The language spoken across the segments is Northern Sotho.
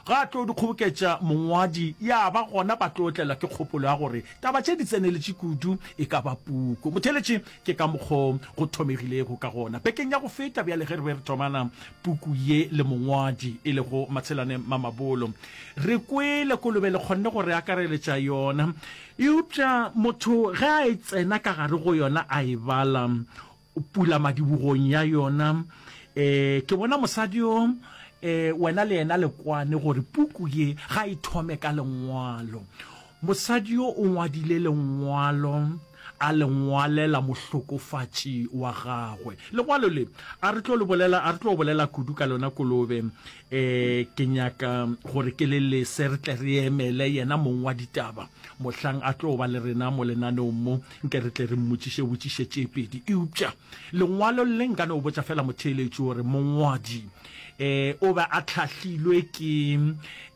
Ga a tlo di kgoboketša mongwadi, ya ba gona ba tlo tlelwa ke kgopolo ya gore taba tše di tseneletše kudu e ka ba puku. Motheeletši, ke ka mokgo go thomegilego ka gona bekeng ya go feta bjale ge re be re thomana puku ye le mongwadi e lego Matshelane Mamabolo. Re kwele kolobe le kgonne go re akareletša yona, eupša motho ge a e tsena ka gare go yona a e bala, pulamadibogong ya yona. E, ke bona mosadi yo, e, wena le yena le kwane gore puku ye ga e thome ka lengwalo. Mosadi yo o ngwadile lengwalo, a le ngwalela mohlokofatši wa gagwe. Lengwalo le, a re tlo le bolela, a re tlo bolela kudu ka lona Kolobe. E, ke nyaka gore ke le lese re tle re emele yena mong wa ditaba mohlang a tlo ba le rena mo lenaneong mo. Nke re tle re mmotšiše botšiše tše pedi. Eupša lengwalo le nka no botša fela motheeletši gore mongwadi e, o be a hlahlilwe ke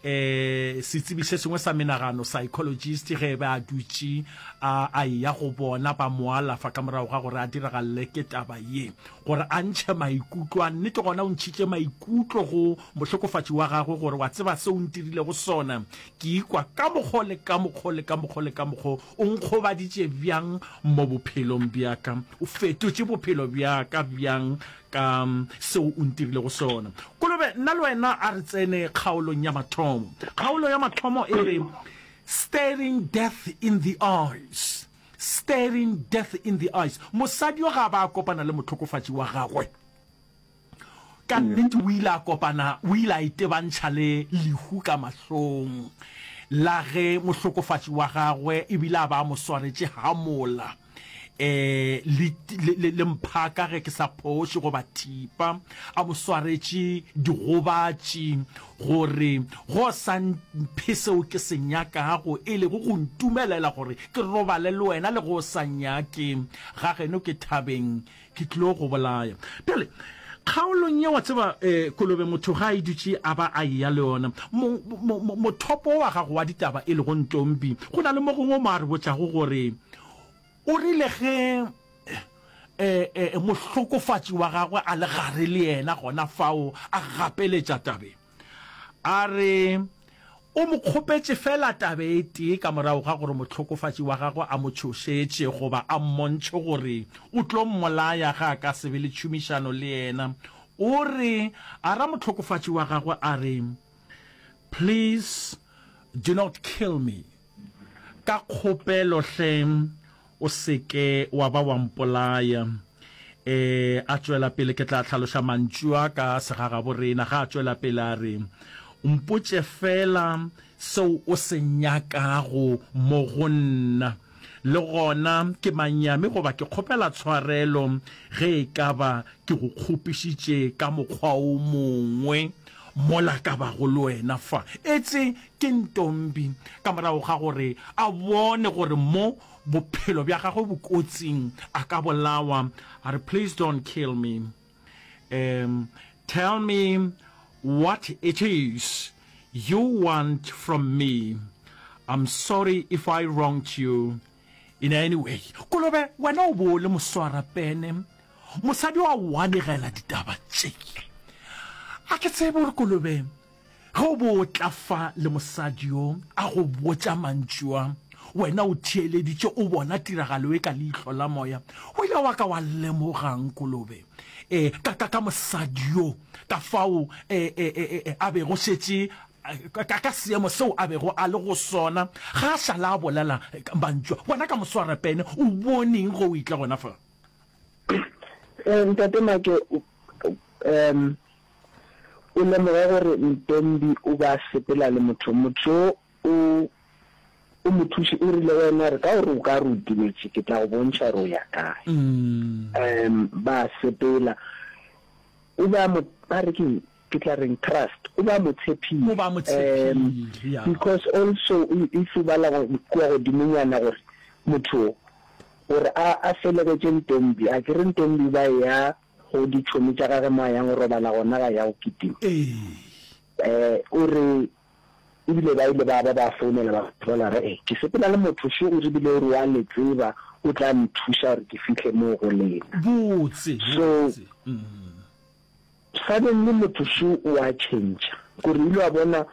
e, setsebi se sengwe sa menagano, psychologist, ge e be a dutše a, a eya go bona ba mo alafa ka morago ga gore a diragalele ke taba ye, gore a ntšhe maikutlo a nnete. Gona o ntšhitše maikutlo go mohlokofatši wa gagwe gore wa tseba se o ntirilego sona, ke ikwa ka mokgo le ka mokgo le ka mokgo le ka mokgo. O nkgobaditše bjang mo bophelong bja ka? O fetotše bophelo bja ka bjang ka seo o ntirilego sona? Kolobe, nna le wena a re tsene kgaolong ya mathomo. Kgaolo ya mathomo e re, Staring Death in the Eyes. Staring Death in the Eyes. Mosadi yo ga a ba a kopana le mohlokofatši wa gagwe. Ka nnete o ile a kopana, o ile a itebantšha le lehu ka mahlong la ge mohlokofatši wa gagwe ebile a ba a mo swaretše hamola e, le, le, le mphaka ge ke sa phoše goba thipa, a mo swaretše digobatši gore go sa mphe seo ke se nyakago, e lego go ntumelela gore ke robale le wena le go sa nyake ga geno ke thabeng Ke tlilo go bolaya. Bjale, kgaolong ye, wa tseba, eh, kolobe motho ga a e dutše a ba a eya le yona. Mo, mo, mo, mothopo wa gago wa ditaba e lego Ntombi, go na le mo gongwe mo a re botšago gore o rile ge, eh, eh, mohlokofatši wa gagwe a le gare le yena gona fao a gapeletša tabeng. A re o mo kgopetše feela taba e tee ka morago ga gore mohlokofatši wa gagwe a mo tšhošetše goba a mmontšhe gore o tlo mmolaya ge a ka se be le tšhomišano le yena. O re a ra mohlokofatši wa gagwe a re, Please do not kill me. Ka kgopelo hle O se ke wa ba wa mpolaya. E, a tšwela pele, ke tla hlaloša mantšu a ka segagaborena. Ga a tšwela pele a re, Mpotše feela seo o se nyakago mo go nna. Le gona ke manyami goba ke kgopela tshwarelo ge e ka ba ke go kgopišitše ka mokgwa o mongwe mola ka bago le wena fa. Etse ke Ntombi ka morago ga gore a bone gore mo bophelo bja gagwe bo kotsing a ka bolawa, a re, Please don't kill me. Um, tell me what it is you want from me. I'm sorry if I wronged you in any way. Kolobe, wena o bo o le moswarapene. Mosadi wa o anegela ditaba tše. A ke tsebe gore Kolobe Ge o bo o tla fa le mosadi yo a go botša mantšu a, wena o theeleditše o bona tiragalo e ka leihlo la moya, o ile wa ka wa lemoga'ng, Kolobe? E, ka, ka, ka mosadi yo, ka fao e, e, e, e, a bego šetše, ka, ka seemo seo a bego a le go sona, ga a šala a bolela mantšu a. Wena ka moswarapene, o boneng ge o etla gona fa? Ntate Make, um, O lemoge gore Ntombi o be a sepela le motho. Motho yo o o mo thuši o rile go yena re ka gore o ka re o timetše ke tla go bontšha gore o ya kae. Um ba sepela. O be a mo ba re keng ke tla reng trust o be a mo tshepile. O be a mo tshepile ya. Because also if o bala kua godimonyana gore motho gore a a felegetše Ntombi akere Ntombi ba eya Go ditšhomi tša gage mo a yang go robala gona ga ya go kitima. Ee. O re ebile ba ile ba ba ba founela ba bolela re, Ee, ke sepela le motho šo, o re bile o re wa le tseba, o tla nthuša gore ke fihle moo go lena. Botse, So, botse. suddenly motho šo o a tšhentšha. Kore o ile wa bona.